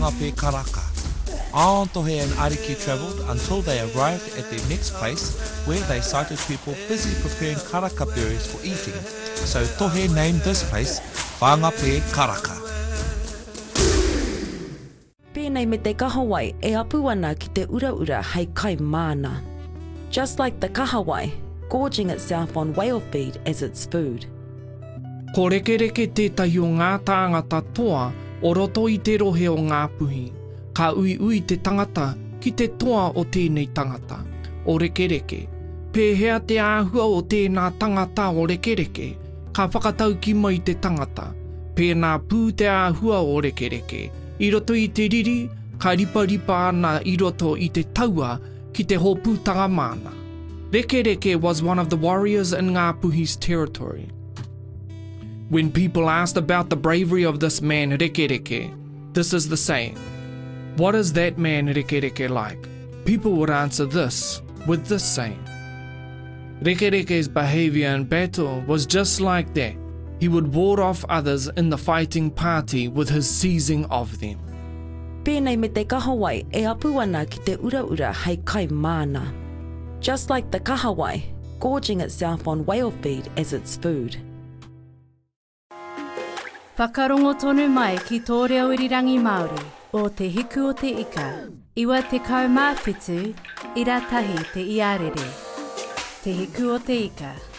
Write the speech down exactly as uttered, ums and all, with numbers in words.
Whangape Karaka. On Tohe and Ariki travelled until they arrived at their next place where they sighted people busy preparing karaka berries for eating. So Tohe named this place Whangape Karaka. Pēnei me te kahawai e apu ana ki te uraura hei kai māna. Just like the kahawai, gorging itself on whale feed as its food. Ko Rekereke tētahi o ngā tāngata toa o roto i te rohe o Ngāpuhi. Ka uiui te tangata ki te toa o tēnei tangata, o Rekereke. Pēhea te āhua o tēnā tangata o Rekereke, ka whakatauki mai te tangata. Pēnā pū te āhua o Rekereke. I roto i te riri, ka riparipa ana i roto i te taua ki te hōpūtanga māna. Rekereke was one of the warriors in Ngāpuhi's territory. When people asked about the bravery of this man Rekereke, this is the saying. What is that man Rekereke like? People would answer this with this saying. Rekereke's behavior in battle was just like that. He would ward off others in the fighting party with his seizing of them. Pēnei me te kahawai e apu ana ki te uraura hei kai māna. Just like the kahawai, gorging itself on whale feed as its food. Whakarongo tonu mai ki tō reo irirangi Māori o Te Hiku o Te Ika, iwa tekau mā whitu, ira tahi te iarere. Te Hiku o Te Ika.